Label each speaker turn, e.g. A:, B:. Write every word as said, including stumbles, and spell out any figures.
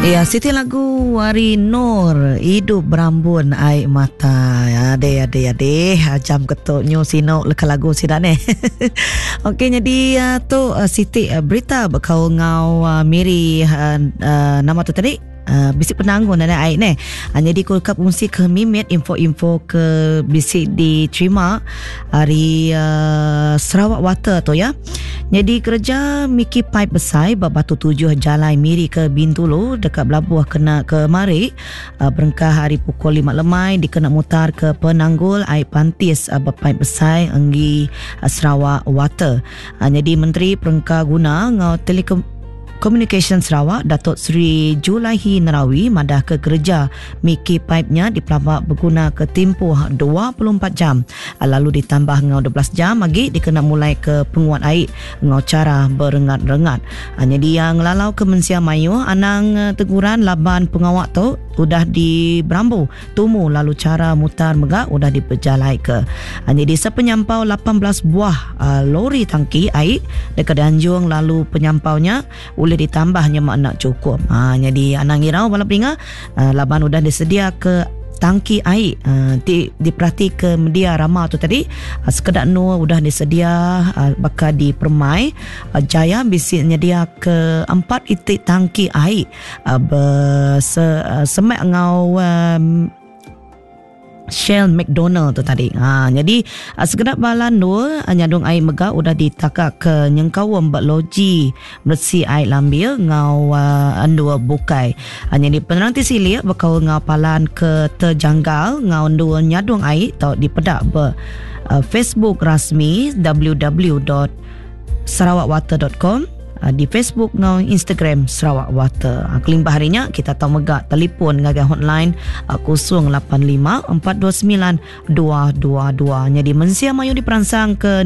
A: Ya, siti lagu ari Nur Idup Berambun Ai Mata. Ade ade ade jam ketu nyu sinu leka lagu sida neh. Okey jadi uh, tu uh, siti uh, berita bekaul ngau uh, Miri uh, uh, nama tu tadi uh, bisi penanggun nana ai neh. Uh, jadi ku ka fungsi ke mimit info-info ke bisi diterima ari uh, Sarawak Water tu ya. Nyadi kereja miki paip besai ba Batu Tujuh Jalai Miri ke Bintulu deka belabuh kena kemari berengkah ari pukul lima lemai dikena mutarka penanggul ai pantis ba paip besai enggi Sarawak Water. Nyadi Menteri Perengka Guna enggau Telekom Komunikasyen Sarawak, Datuk Seri Julaihi Narawi madahka kereja miki paip nya dipelaba begunaka timpuh dua puluh empat jam lalu ditambah enggau dua belas jam agi dikena mulaika penguat ai enggau chara berengat-rengat. Nyadi iya ngelalauka mensia mayuh anang teguran laban pengawa tu udah diberambu tumu lalu chara mutar mega udah dipejalaika. Nyadi sepenyampau lapan belas buah lori tangki ai deka dianjung lalu penyampau nya ulih ditambah nyema enda chukup. Ha, nyadi anang irau bala peninga laban udah disedia ke tangki ai uh, ti diperati ke media rama tu tadi uh, sekeda endur udah disedia uh, baka di Permai uh, Jaya bisi nyedia ke empat iti tangki ai uh, berse, uh, semak enggau um, Shell McDonald tu tadi. Ha, jadi sekeda bala endur nyadung ai mega udah ditaka ke nyengkaum ba loji meresi ai lambil enggau uh, endur bukai. Ha, jadi penerang ti silik bekaul enggau palan ke terjanggal enggau endur nyadung ai tau dipeda ba uh, Facebook rasmi w w w dot sarawak water dot com di Facebook ngau Instagram Sarawak Water. Kelimpah hari nya kita tau mega telefon ngagai hotline kosong lapan lima empat dua sembilan dua dua dua. Jadi mensia mayu diperansang ke